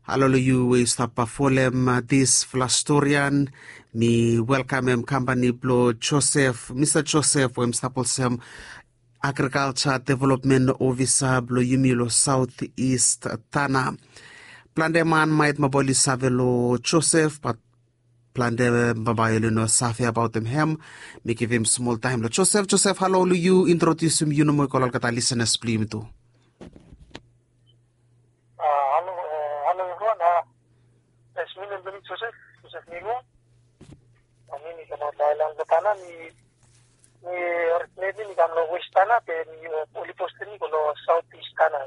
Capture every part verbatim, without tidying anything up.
Halo long yu we yu stap folem disfala storian. Mi welkamem kampani blong Josef, Mista Josef, we hem stap olsem agrikalsa developmen ofisa blong yumi long Saut Ist Tana. Plante man maet mobile yu save long Josef, bat plante bambae oli no save abaotem hem. Mi givim smol taem long Josef. Josef, halo long yu, introdiusim yu nomo i go long olgeta lisenas blong yumi tu. Halo, halo evriwan. Yes, mi nem blong mi Josef, Josef Nilua. Mi mi kamaot long aelan blong Tana. Mi mi originatli mi kam long West Tana, be mi oli postem mi go long Saut Ist Tana.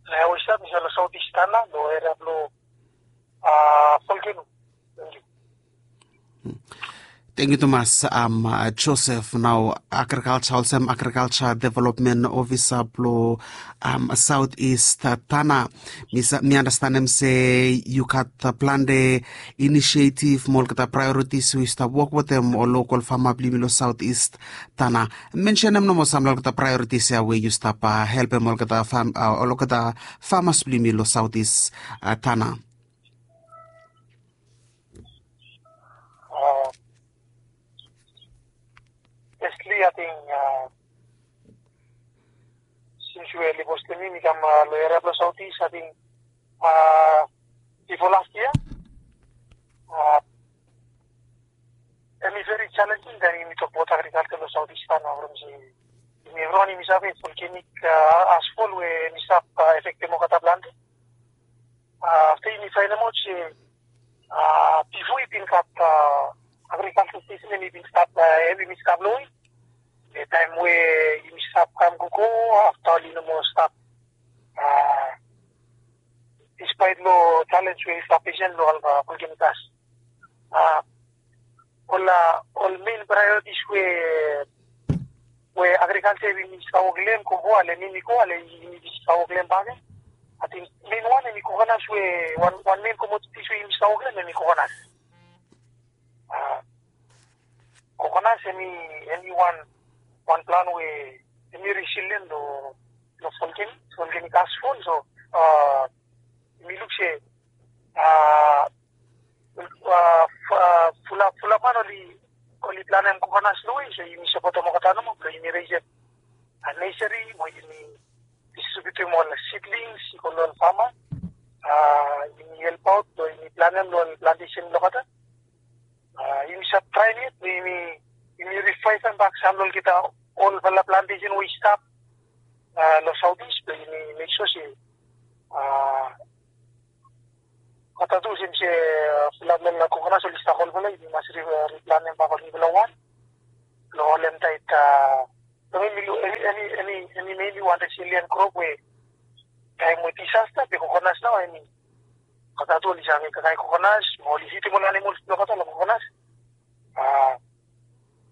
Na ya we stap mi stap long Saut Ist Tana long eria blong Volcano. Tangkiu. Tangkiu tumas, Josef. Nao agrikalsa, olsem agrikalsa developmen ofisa blong Saut Ist Tana, mi aonestem se yu gat plante inisietif mo olgeta praeoritis we yu stap wok wetem ol lokol fama blong yumi long Saut Ist Tana. Mensenem nomo samfala olgeta praeoritis ya we yu stap helpem olgeta famas blong yumi long Saut Ist Tana. Basically, ating sins we oli postem mi mi kam long eria blong Saut Ist, ating bifo las yia, hemi veri jalenjing taem yumi tokbaot agrikalsa long Saut Ist Tana, from se yumi evriwan yumi save volcanic asfol we hemi stap efektem olgeta plante. Afta yumi faenemaot se bifo i bin gat agrikalsa stesen, hemi bin stap, hemi bin stap long we, be taem we yumi stap kam gogo, afta oli no moa stap, dispaet long jalenj we oli stap fesem long olgeta volcanic gas. Ol, ol mein praeoritis we, we agrikalsa yumi stap wok long hem gogo, ale mi mi go, ale yumi stap wok long hem bakegen. Ating mein wan hemi kokonas, we wan, wan mein komotitis we yumi stap wok long hem hemi kokonas. Kokonas hemi, hemi wan, wan plan we hemi resilien long, long volcanic, volcanic asfol. So mi luk se fulap, fulap man oli, oli planem kokonas long we, so yumi sapotem olgeta nomo blong yumi resem nesari mo yumi distribiutem ol sidlings i go long ol fama. Yumi helpaot blong yumi planem long ol plantesen blong olgeta. Yumi save traem yet blong yumi, yumi rivaevem bak sam long olgeta olfala plantesen we i stap long Saut Ist, blong yumi mek sua se olgeta tu, olsem se fulap long kokonas oli stap olfala, yumi mas riplanem bak ol nifala wan blong holem taet. Long hemi, hemi, hemi, hemi wan resilien krop we taem we disasta be kokonas nao hemi, olgeta tu oli save kakae kokonas mo oli fidim ol animols blong olgeta long kokonas.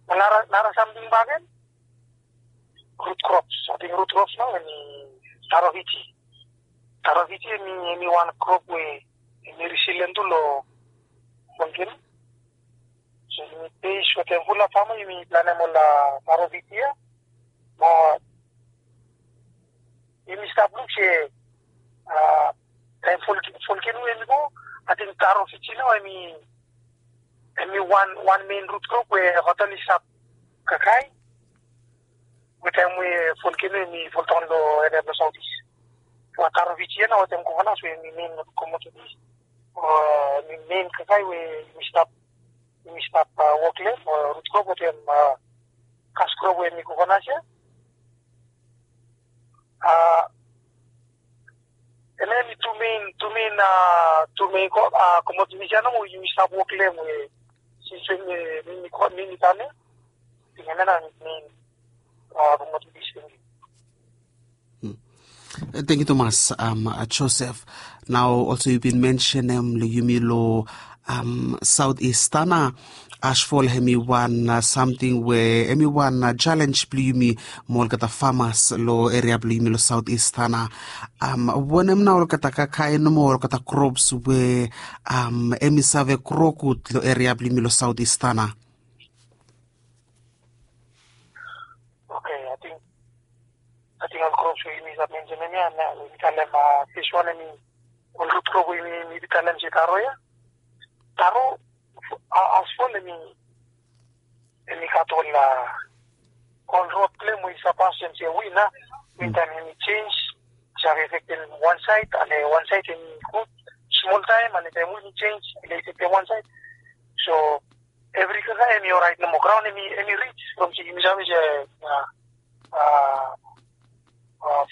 Nara, nara samting bakegen, rut krops. Ating rut krops nao hemi taro Fiji. Taro Fiji hemi, hemi wan krop we hemi resilien tu long volcano. So yumi beis wetem fulap fama yumi planem ol taro Fiji ya. Mo yumi stap luk se taem volcano hemi go, ating taro Fiji nao hemi, hemi wan, wan mein rut krop we olgeta oli stap kakae we taem we volcano hemi foldaon long eria blong Saut Ist. Mo taro Fiji ya nao wetem kokonas we hemi mein komotitis, o hemi mein kakae we yumi stap, yumi stap wok long hem, o rut krop wetem kas krop we hemi kokonas ya. Hemia hemi tu mein, tu mein, tu mein komotitis ya nomo we yumi stap wok long hem we sins we mi, mi, mi kam ya. Ating hemia nao hemi mein komotitis. Tangkiu tumas, Josef. Nao olsem yu bin mensenem long yumi long Saut Ist Tana, asfol hemi wan samting we hemi wan jalenj blong yumi mo olgeta famas long eria blong yumi long Saut Ist Tana. Wanem nao olgeta kakae nomo, olgeta krops we hemi save gro gud long eria blong yumi long Saut Ist Tana? Oke, ating, ating ol krops we yumi save mensenem ya, na yumi talem, fes wan hemi ol rut krop we mi mi talem se taro ya. Taro, asfol em i em i gat ol ol rod blong em we i sapas em se win a. Win taem em i jenj, i save efektem wan saed, ale wan saed em i gud smol taem, ale taem win i jenj, ale efektem wan saed. So evri kaka em i oraet nomo, graon em i em i rij from se yumi save se a a a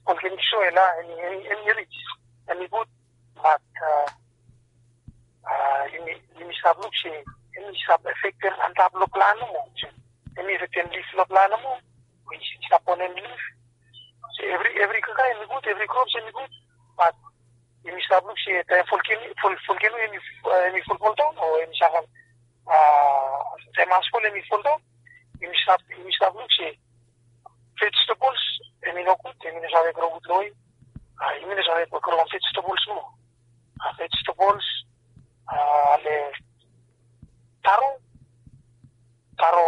volcanic soil a em i em i em i rij, em i gud. Bat a a yumi yumi stap luk se em i stap efektem antap long plant nomo. Em i efektem lif long plant nomo we i stap ponem lif. Se evri evri kaka em i gud, evri krops em i gud. Bat yumi stap luk se taem volcano volcano em i em i fulfuldaon o em i save a taem asfol em i foldaon, yumi stap yumi stap luk se vegetables em i no gud, em i no save gro gud long we a yumi no save gro vegetables mo. A vegetables a le taro taro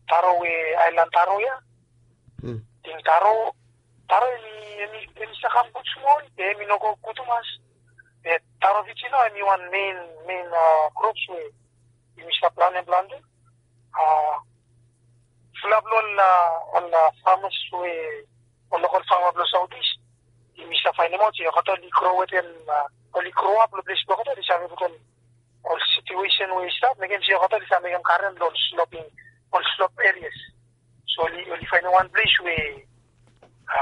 taro we aelan taro ya. Ting taro taro em i em i em i sakam gud smol be em i no go gud tumas. Be taro viji nao em i wan mein mein a krops we yumi stap planem plante. A fulap long ol a ol a famas we ol lokal fama blong saotis yumi stap faenemaot se olgeta oli gro wetem a oli gro ap long ples blong olgeta oli save putum ol situesen we i stap mekem se olgeta oli save mekem garen long ol sloping ol slop erias. So oli oli faenem wan ples we a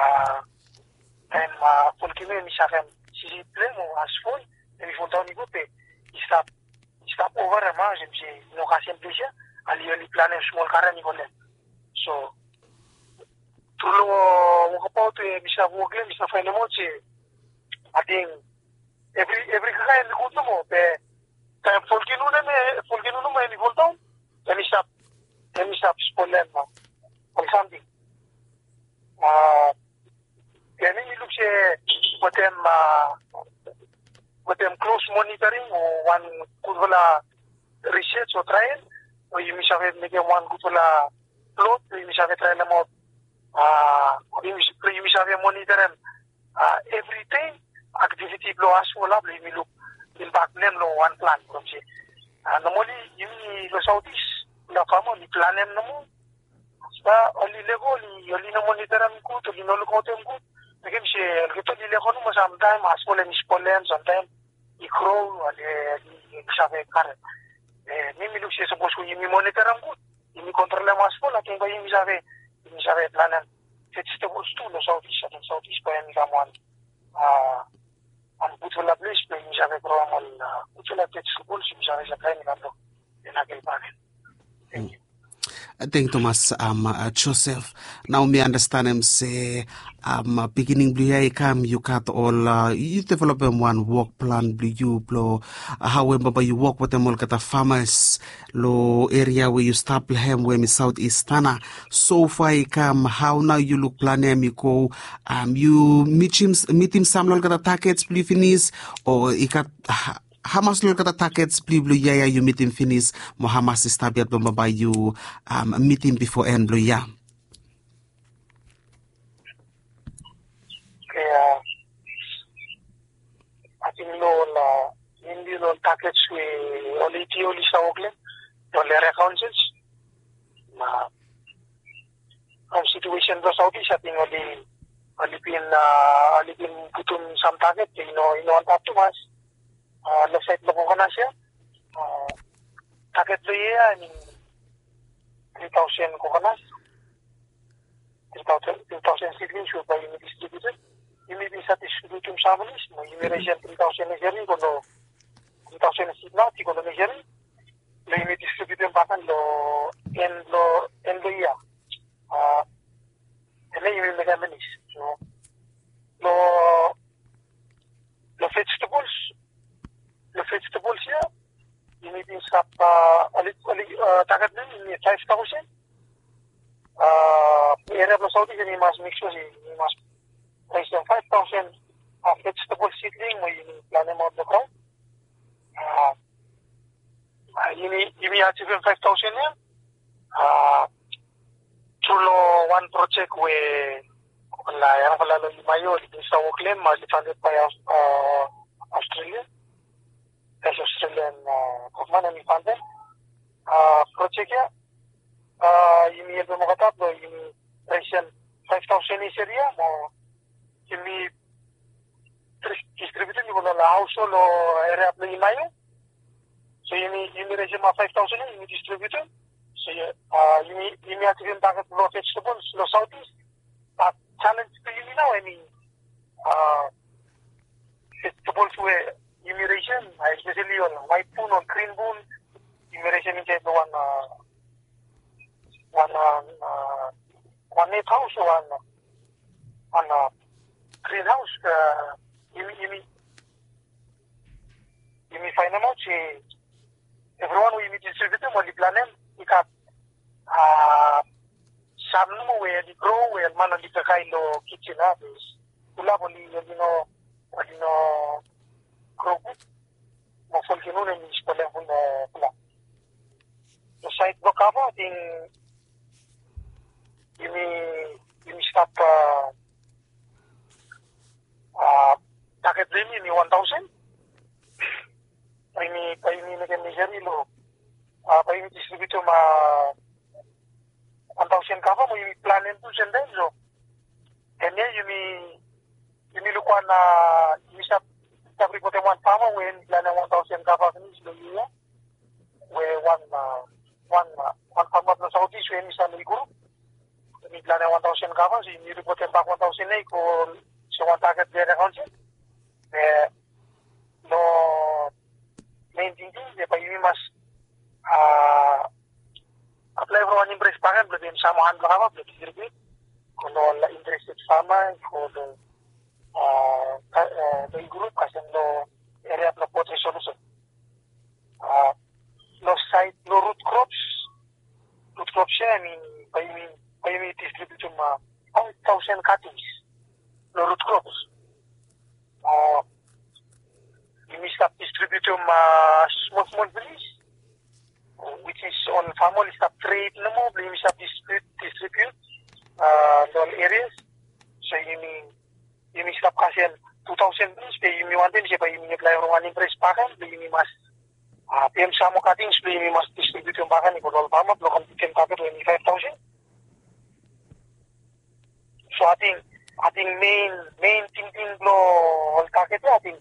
taem a volkeno em i save sisi blong em o asfol em i foldaon i go be i stap i stap ova em a olsem se i no kasem ples ya. Ali oli planem smol garen i go long em. So tru long wokabaot we mi stap wok long em mi stap faenemaot se ating evri evri kaka em i gud nomo be taem volkeno nomo em i foldaon em i stap em i stap spolem ol samting. A Ia mi mi luk se wetem a wetem klos monitoring o wan gudfala risets o trael we yumi save mekem wan gudfala plot we yumi save traelemaot a yumi save monitorem a evri dei aktiviti blong asfol a blong yumi luk impak blong em long wan plan blong se a nomali yumi long sautis na fama oli planem nomo. Sa oli lego oli oli no monitorem gud oli no lukaotem gud. Mekem se olgeta oli lego nomo samtaem asfol em i spolem samtaem i gro oli oli save karem. Mi mi luk se sapos we yumi monitorem gud yumi kontrolem asfol ating bae yumi save yumi save planem vegetables tu long sautis ating sautis bae em i kam wan a wan gudfala ples blong yumi save groem ol gudfala vegetables yumi save saplaem i kam long. Thank you. Thank you tumas. Joseph, nao mi anastenem se pikinini blong yu ya i kam yu gat ol yu developem wan wok plan blong yu blong hao em bambae yu wok wetem olgeta famas long eria we yu stap long hem we em i saut istana. Sofa i kam hao nao yu luk plan ya em i go? Yu mitim sam long olgeta takets blong yu finis o i gat hamas long olgeta takets blong yu blong yia ya yu mitim finis mo hamas i stap yet blong bambae yu mitim bifo en blong yia? Ating long ol a mindi long ol takets we ol eti oli stap wok long long ol eria kaonsils na ol situesen blong sautis ating oli oli bin a oli bin putum sam taket i no i no antap tumas. A long saed blong kokonas ya a taket blong yia ya em i tri taosen kokonas. Tri taosen tri taosen sidlings we bae yumi distribiutem. Yumi bin save distribiutum sam finis mo yumi resem tri taosen neseri i go long tri taosen sidnat i go long neseri blong yumi distribiutem baken long en blong en blong yia. A em ya yumi mekem finis. So long long vegetables long vegetables ya yumi bin stap a oli oli taget blong yumi faef taosen. A eria blong saut i se yumi mas mek sua se yumi mas resem faef taosen a vegetables sidling we yumi planemaot long graon. A yumi yumi ajivim faef taosen ya a tru long wan projek we ol yangfala long yuma ya oli bin stap wok long hem a oli fandet bae a Australia. As Australian gavman hemi fandem projek ia, yumi helpem olgeta blong yumi resim faef taosen is eria mo yumi distribiutim i go long ol haoshol o eria blong Imaio. So yumi yumi resim faef taosen ia yumi distribiutim. So yumi yumi asivim taget blong vegetables long South East. Bat challenge blong yumi nao hemi vegetables we yumi resim, especially ol white bean, ol green bean, yumi resim insaed long wan wan wan net haos o wan wan green haos. Yumi yumi yumi faenemaot se evriwan we yumi distribiutim oli planem i gat sam nomo we oli gro we ol man oli kakae long kijen a, pulap oli oli no oli no gro gud. Mo folgenun hemi spolem ful long pulap. Long saed blong kava ating yumi yumi stap taget blong yumi hemi wan taosen. Bae yumi bae yumi mekem measure long bae yumi distribiutim wan taosen kava mo yumi planem tu semtaem. So hemia yumi yumi luk wan yumi stap stap ripotem wan fama we hemi planem wan taosen kava finis long yia. We wan wan wan fama blong South East we hemi stap long Europe hemi planem wan taosen kava, so yumi ripotem bak wan taosen ia i go se wan taget blong eria kaonsel. Be long mein tingting se bae yumi mas aplaem long wan impress bakegen blong givim sam han blong kava blong distribiut i go long ol interested fama i go long long Europe kasem long eria blong Port Resolution. Long saed blong root crops, root crops ia hemi bae yumi bae yumi distribiutim faef taosen cuttings long root crops. Yumi stap distribiutim smol smol finis, which is ol fama oli stap tred nomo blong yumi stap distribiut distribiut long ol erias. So yumi yumi stap kasem tu taosen finis be yumi wantem se bae yumi aplaem long wan impress bakegen blong yumi mas pem sam moa cuttings blong yumi mas distribiutim bakegen i go long ol fama blong kam kitim taget we hemi faef taosen. So ating ating mein mein tingting blong ol taget ia ating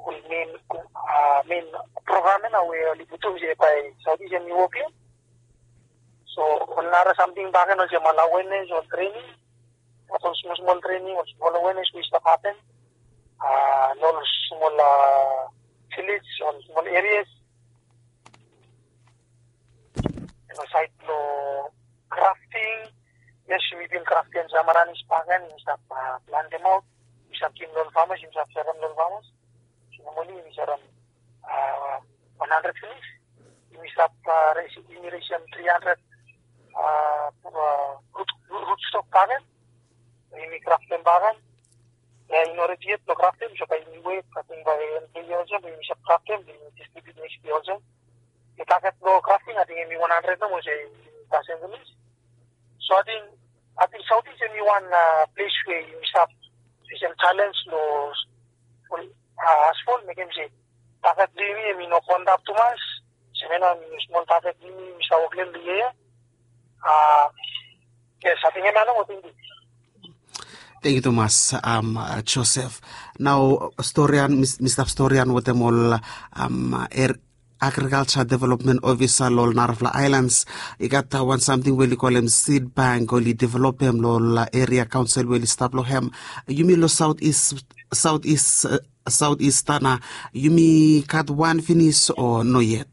ol mein mein program ia nao we oli putum se bae South East hemi wok long. So ol nara samting bakegen olsem ol awenes, ol trening, ol smol smol trening, ol smol awenes we i stap hapen long ol smol vilej, ol smol erias. Long saed blong krafting, yes, yumi bin kraftem sam aranis bakegen, yumi stap plantemaot, yumi stap givim long ol famas, yumi stap serem long ol famas. So nomali yumi serem wan handred finis. Yumi stap resim yumi resim tri handred rut rut stok bakegen. Yumi kraftem bakegen. Ia i no redi yet blong kraftem, so bae yumi wet, ating bae en blong yia olsem bae yumi stap kraftem blong yumi distribiut neks yia olsem. Be taget blong krafting ating hemi wan handred nomo se yumi kasem finis. So ating ating South East hemi wan ples we yumi stap fesem challenge long asfol, mekem se taget blong yumi hemi no go antap tumas. Semena hemi smol taget blong yumi yumi stap wok long yia. Yes, ating hemia nomo, tangkiu. Tangkiu tumas, Joseph. Nao storian mi stap storian wetem ol agrikalja developmen ofisa long ol narafala aelans. I gat wan samting we oli kolem seed bank oli developem long ol eria kaonsel we oli stap long hem. Yumi long South East, South East, South East Tanna, yumi gat wan finis o no yet?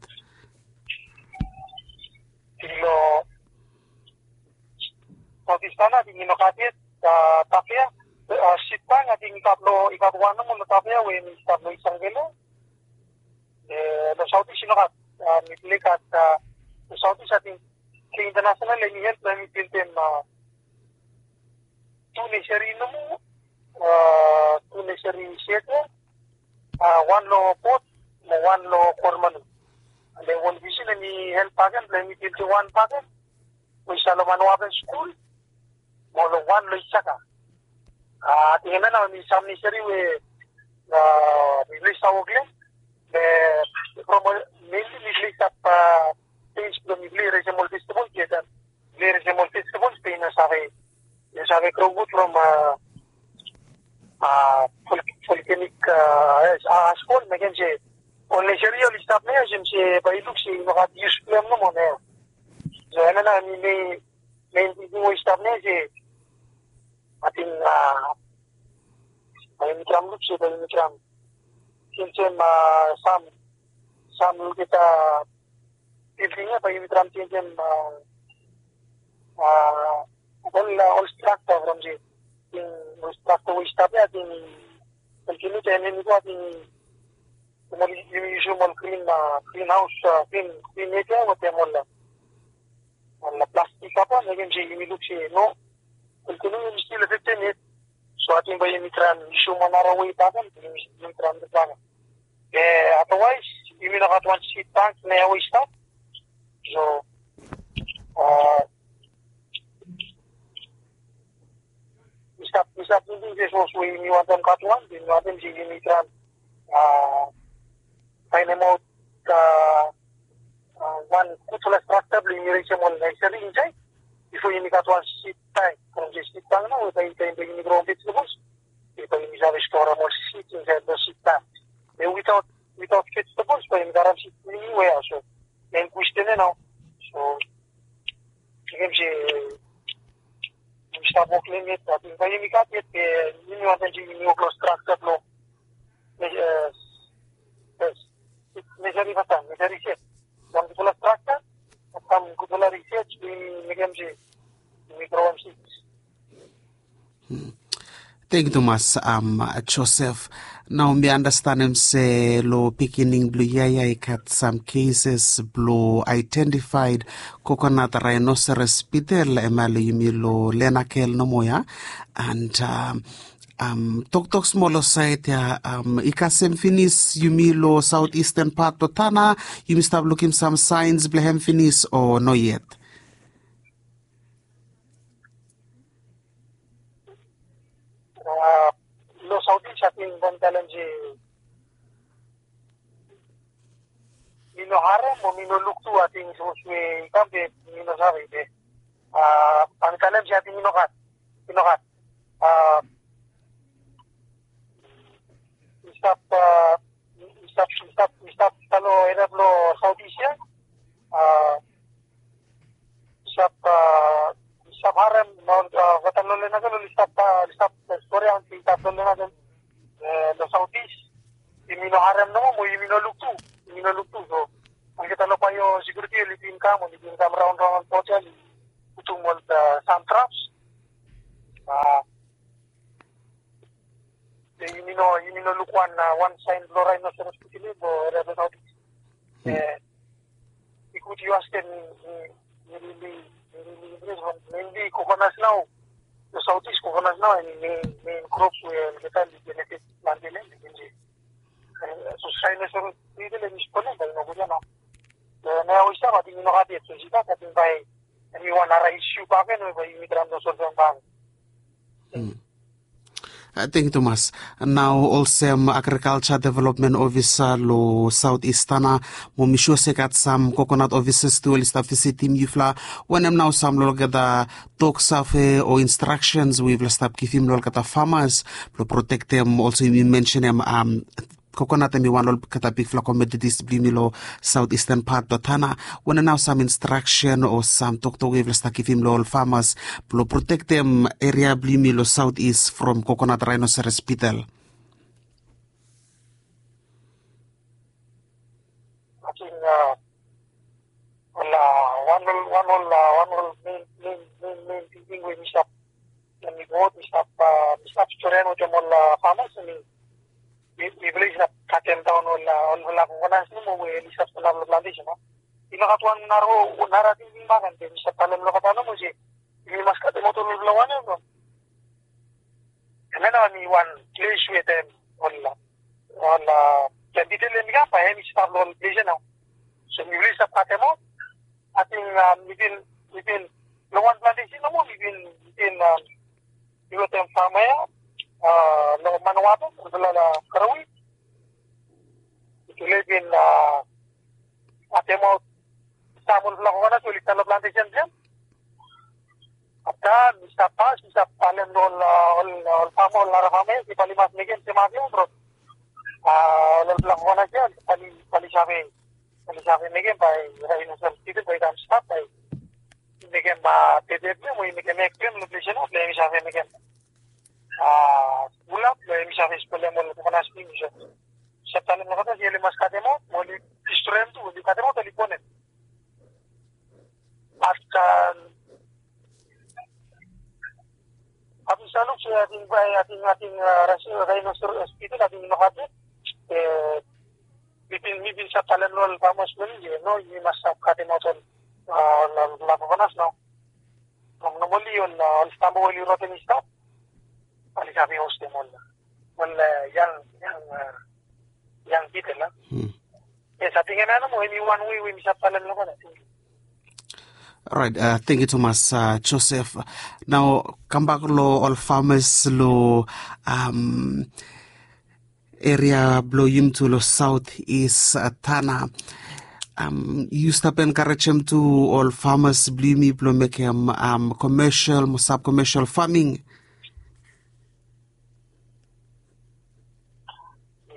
Long South East Tanna ating i no gat yet. Tafea, seed bank ating i gat long i gat wan nomo long Tafea we hemi stap long East Anglia. Long South East i no gat. Mipela i gat long South East ating International hemi help blong hemi bildim tu neseri nomo, tu neseri sed ia, wan long Port mo wan long Koromanu. And then World Vision hemi help bakegen blong hemi bildim wan bakegen we i stap long Manuaben skul mo long wan long Isaka. Ating hemia nao hemi sam neseri we Mifala i stap wok long em. Be from ol, mainly mifala i stap, a, pes blong mifala i resem ol festival, be taem mifala i resem ol festival be i no save, i no save gro gud from, a, a, volcanic, a, ash, ash fall, mekem se ol nature ia oli stap nao ia, olsem se bae i luk se i no gat yus blong hem nomo nao ia. So hemia nao hemi mein, mein tingting we i stap nao ia se ating, a, bae yumi traem luk se bae yumi traem jenjem, a, sam, sam olgeta bilding ia bae yumi traem jenjem, a, a, ol, a, ol strakja from se, ating ol strakja we i stap ia, ating kontiniu taem hemi go, ating yumi, yumi yusum ol grin, a, grinhaos, a, grin, grin net ia wetem ol, a, ol plastik kava, mekem se yumi luk se no, kontiniu yumi stil afektem yet. So ating bae yumi traem yusum wan nara wei bakegen, yumi traem luk bakegen. Be otherwise yumi no gat wan seed bank nao ia we i stap. So, a, mi stap, mi stap tingting se sapos we yumi wantem gat wan, yumi wantem se yumi traem, a, faenemaot, a, a, wan gudfala strakja blong yumi resem ol naesari insaed bifo yumi gat wan seed bank. From se seed bank nao we bae, bae, bae yumi gro vejetables, be bae yumi save storem ol seed insaed long seed bank. Be witaot, witaot vejetables bae yumi gat wan seed blong yumi we ia. So mein kwestin ia nao. So mekem se yumi stap wok long hem yet, ating bae yumi gat yet, be yumi wantem se yumi wok long strakja blong, e, e, naesari fastaem, naesari sed. Wan gudfala strakja, wan gudfala risej, yumi mekem se yumi groem seeds. Tangkiu tumas, am, Joseph. Nao mi andastanem se long beginning blong yia ia i gat sam cases blong identified coconut rhinoceros beetle hemia long yumi long Lenakel nomo ia. And, am, am, toktok smol long saed ia, am, i kasem finis yumi long southeastern part blong Tanna, yumi stap lukim sam signs blong hem finis o no yet? A, long southeast ating bae mi talem se mi no harem o mi no luk tu, ating sapos we i kam be mi no save be, a, bae mi talem se ating i no gat, i no gat. A, mi stap, a, mi stap, mi stap, mi stap, stap long eria blong southeast ia. A, mi stap, a, mi stap harem, nao, a, olgeta long Lenakel oli stap, a, oli stap, a, stori ating i stap long Lenakel, e, long southeast. Yumi no harem nomo mo yumi no luk tu, yumi no luk tu. So olgeta long biosecurity oli bin kam, oli bin kam raon raon long bot ia, oli putum ol, a, sam traps. A, be yumi no, yumi no luk wan, a, wan saen blong rhinoceros beetle long eria blong southeast. E, i gud yu askem, mi, mi, mi, mi, mi, mi, mi, mi, mi, coconut nao. Long southeast coconut nao hemi mein, mein crops we olgeta oli benefit plante long hem. E, so rhinoceros beetle hemi spoil hem, bae i no gud ia nao. E, nao we i stap ating i no gat yet, so i stap, ating bae hemi wan nara issue bakegen we bae yumi traem long solvem bakegen. Tangkiu tumas. Nao olsem agriculture development officer long southeast Tanna, mo mi sua se i gat sam coconut officers tu oli stap visitim yufala. Wanem nao sam long olgeta tok save o instructions we yufala stap givim long olgeta farmers blong protektem, olsem yumi mensenem, am, coconut hemi wan long olgeta bigfala commodities blong yumi long southeastern part blong Tanna. Wanem nao sam instruction o sam toktok we yufala stap givim long ol farmers blong protektem eria blong yumi long southeast from coconut rhinoceros beetle? Ating, a, ol, a, wan ol, wan ol, a, wan ol mein, mein, mein, mein tingting we mi stap, we mi go, mi stap, a, mi stap stori wetem ol, a, farmers, mi, mi, mifala i stap katem daon ol, a, ol, ol coconuts nomo we oli stap sanap long plantation, no? I no gat wan nara, nara tingting bakegen, be mi stap talem long olgeta nomo se yumi mas katem aot ol, ol, ol wanem from Hemia nao hemi wan ples we taem ol, ol, a, planti tele hemi kam, bae hemi stap long ol ples ia nao. So mifala i stap katemaot. Ating, a, mi bin, mi bin long wan plantesen nomo, mi bin, mi bin, a, mi wetem fama ia, a, long Manawatu, olfala long Karawi, Tule i bin, a, katemaot sam ol fala kokonas we oli stap long plantesen blong hem. Afta mi stap pas, mi stap talem long ol, a, ol, ol fama, ol nara fama ya se bae oli mas mekem semaf ya bro. A, ol, ol fala kokonas ya bae oli, bae oli save, bae oli save mekem bae Rhinoceros Hospital bae i kam stap, bae i mekem, a, bebe blong hem o i mekem ek blong hem long ples ya nao blong hem i save mekem, a, fulap blong hem i save spolem ol kokonas blong hem. So mi stap talem long olgeta se oli mas katemaot, mo oli distroem tu, oli katemaot, oli bonem. Afta, afta mi stap luk se ating, ating, ating, a, Rhinoceros Hospital ating i no gat yet. E, mi bin, mi bin stap talem long ol famas blong mi se no, yumi mas stap katemaot ol, a, ol, ol kokonas nao. Long nomali ol, a, ol stamba we oli roten i stap, bae oli save hostem ol, ol, a, yang, yang, a, yang beetle a. Yes, ating hemia nomo, hemi wan wei we mi stap talem long olgeta. Orait, a, tangkiu tumas, a, Joseph. Nao kambak long ol famas long, am, eria blong yumi tu long South East, a, Tanna. Am, yu stap enkarejem tu ol famas blong yumi blong mekem, am, commercial mo sub-commercial farming?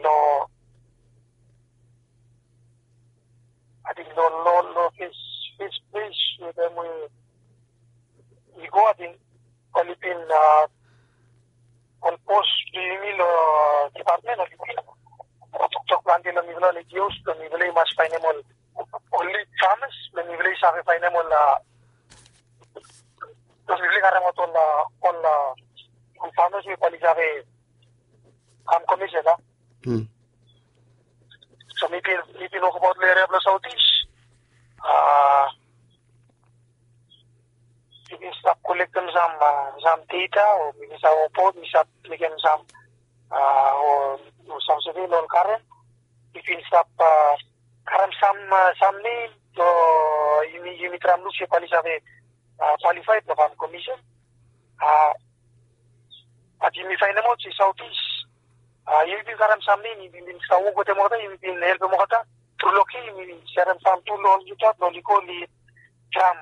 No. Ating long, long, long fes, fes ples we taem we mi go, ating oli bin, a, ol bos blong yumi long, a, dipatmen oli bin toktok plante long mifala long N G Os blong mifala i mas faenem ol, ol lid famas blong mifala i save faenem ol, a, blong mifala i karemaot ol, a, ol, a, ol famas we bae oli save kam commercial a. So mi bin, mi bin wokbaot long eria blong South East. A, mi bin stap kolektem sam, a, sam data o mi bin stap wokbaot, mi stap mekem sam, a, o, o sam survey long ol karen. Mi bin stap, a, karem sam, a, sam nem blong yumi, yumi traem luk se bae oli save, a, qualified blong kam commercial. A, bat yumi faenemaot se South East, a, yumi bin karem sam nem, yumi bin stap wok wetem olgeta, yumi bin helpem olgeta. Tru long, yumi bin serem sam tu long olgeta blong oli go oli traem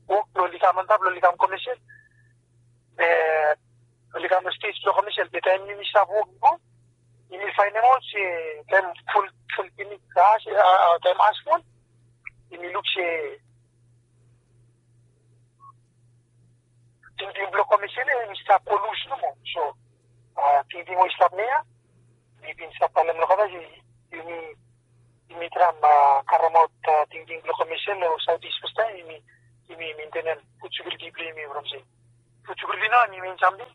wok blong oli kam antap blong oli kam commercial. E, oli kam long stej blong commercial, be taem yumi stap wok i go, yumi faenemaot se taem ful, ful pinis, a, se, a, a, taem as ful, yumi luk se tingting blong commercial ya i stap go lus nomo. So, a, tingting we i stap nao ya, mi bin stap talem long olgeta se yumi, yumi traem, a, karemaot, a, tingting blong commercial long South East fastaem, yumi, yumi mentenem food security blong yumi from se food security nao hemi men samting.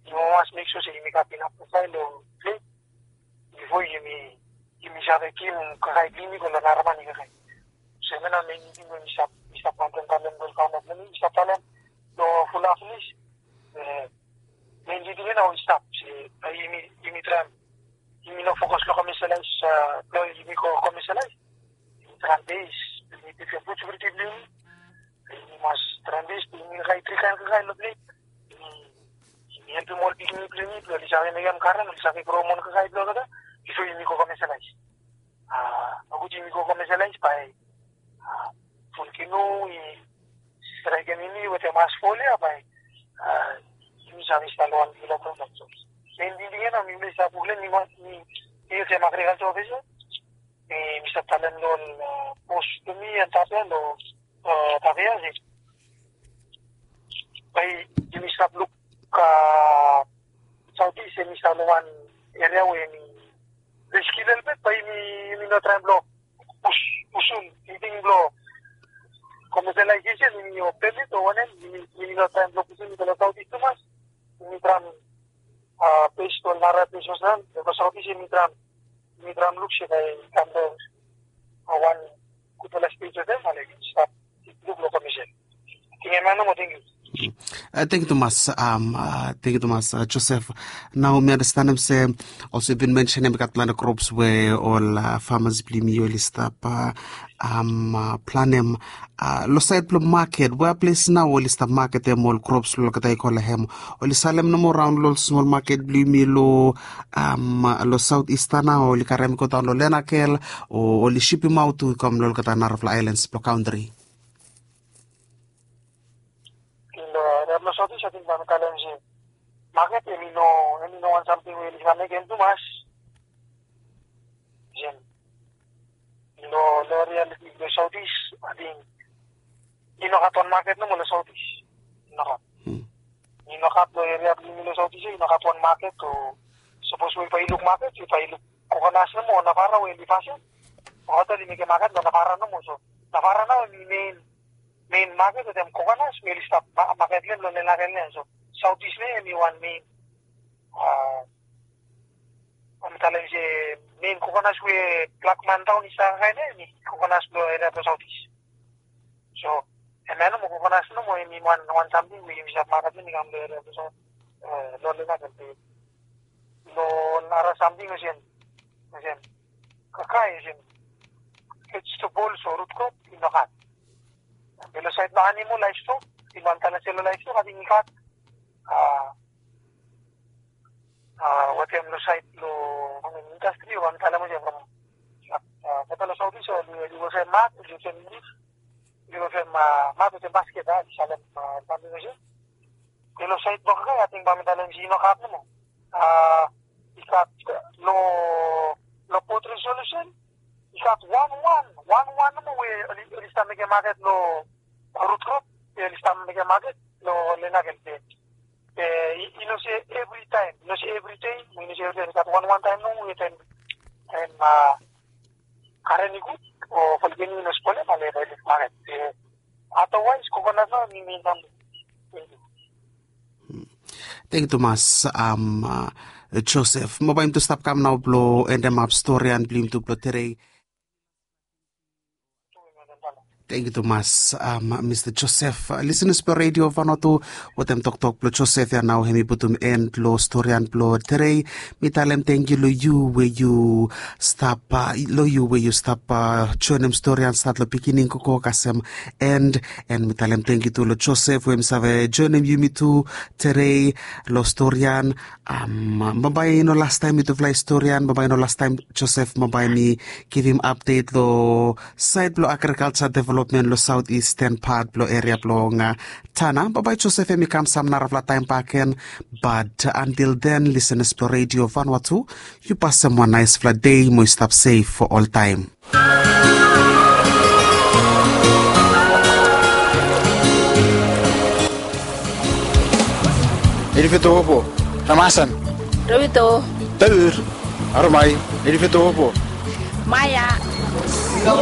Yumi mas mek sua se yumi gat inaf kakae long ples bifo yumi, yumi save givim kakae blong yumi go long naraman i kakae. So hemia nao men tingting we mi stap, mi stap wantaem talem long ol famas blong mi, mi stap talem long fulap finis. E, men tingting ya nao i stap se, a, yumi, yumi traem, yumi no fokas long commercialize, a, blong yumi go commercialize. Yumi traem bes, yumi bifo food security blong yumi. Yumi mas traem bes blong yumi kakae tri kaen kakae long ples. Yumi, yumi helpem ol pikinini blong yumi blong oli save mekem karen, oli save groem wan kakae blong olgeta bifo yumi go commercialize. A, nogud yumi go commercialize bae, a, ful kinu i straekem yumi wetem as ful ya bae, a, yumi save stap long wan bigfala problem. So men tingting ya nao mifala i stap wok long hem, mi, mi, mi olsem agriculture officer. Mi, mi stap talem long ol, a, bos blong mi antap ya long, a, Tavea se bae yumi stap luk, a, South East hemi stap long wan eria we hemi riski lelebet, bae yumi, yumi no traem blong pus, pusun tingting blong commercialization, yumi o permit o wanem, yumi, yumi no traem blong pusun i go long South East tumas. Yumi traem, a, bes long nara ples fastaem, long South East yumi traem, yumi traem luk se bae i kam long, a, wan gudfala stej wetem, ale yumi stap luk long commercial. Ating hemia nomo, tangkiu. Tengkiu tumas, tengkiu tumas Joseph. Nao mi anastenem se olsem yu bin mensenem i gat planti krops we ol famas blong yumi oli stap planem. Long saed blong maket, wea ples nao oli stap maketem ol krops blong olgeta i go long hem? Oli salem nomo raon long ol smol maket blong yumi long saot ista nao, oli karem i go daon long Lenakel, o oli sipimaot tu i kam long olgeta narafala aelans blong kantri? Long eria blong Southeast, ating bae mi talem se maket hemi no, hemi no wan samting we oli save mekem tumas. Olsem long eria blong Southeast, ating i no gat wan maket nomo long Southeast. I no gat. I no gat long eria blong yumi long Southeast, i no gat wan maket. O sapos we yu bae yu luk maket, yu bae yu luk Kokonas nomo, Navara we oli fasin. Olgeta oli mekem maket long Navara nomo. So Navara nao hemi mein, mein maket wetem Kokonas we oli stap maket long hem long Lenakel ya. So Southeast nao hemi wan mein, bae mi talem se, mein Kokonas we Blackman Town i stap kaen ya, hemi Kokonas blong eria blong Southeast. So hemia nomo, Kokonas nomo, hemi wan, wan samting we yumi save maketem i kam long eria blong Southeast, long Lenakel. Long nara samting olsem, olsem kakae, olsem vegetables o root crop i no gat. Be long saed blong animal, livestock, i bae mi talem se long livestock ating i gat. Wetem long saed blong indastri, bae mi talem olsem from, from Southeast, oli, oli olsem mat, oli olsem lif, oli olsem mat wetem basket, a, oli salem samting olsem. Be long saed blong kakae, ating bae mi talem se i no gat nomo. I gat long, long Port Resolution, i gat wan, wan, wan, wan nomo we oli, oli stap mekem maket long root crop, oli stap mekem maket long Lenakel. Be i, i no se evri taem, i no se evri dei, i no se evri taem, i gat wan, wan taem nomo we taem, taem karen i gud o folgeni i no spolem, ale bae i luk maket. Be otherwise, Kokonas nao hemi mein samting. Tengkiu tumas Joseph. Mo bae yumi tu stap kam nao blong endemap storian blong yumi tu blong tedei. Tengkiu tumas Mista Joseph. Lisenas blong Redio Vanuatu, wetem toktok blong Joseph ya nao hemi putum en long storian blong tedei. Mi talem tengkiu long yu we yu stap, long yu we yu stap joenem storian stat long beginning gogo kasem en. En mi talem tengkiu tu long Joseph we hemi save joenem yumi tu tedei long storian. Bambae i no lastaem mitufala i storian, bambae i no lastaem Joseph, bambae mi givim apdet long saed blong agrikalja developmen long saotisten pat blong eria blong Tanna. Bambae Joseph hemi kam sam narafala taem bakegen. Bat antil den, lisenas blong Redio Vanuatu, yu pasem wan naesfala dei mo yu stap sef fo oltaem. Edifito opo. Ramasan. Rovito. Taur. Aromai. Edifito opo. Maya.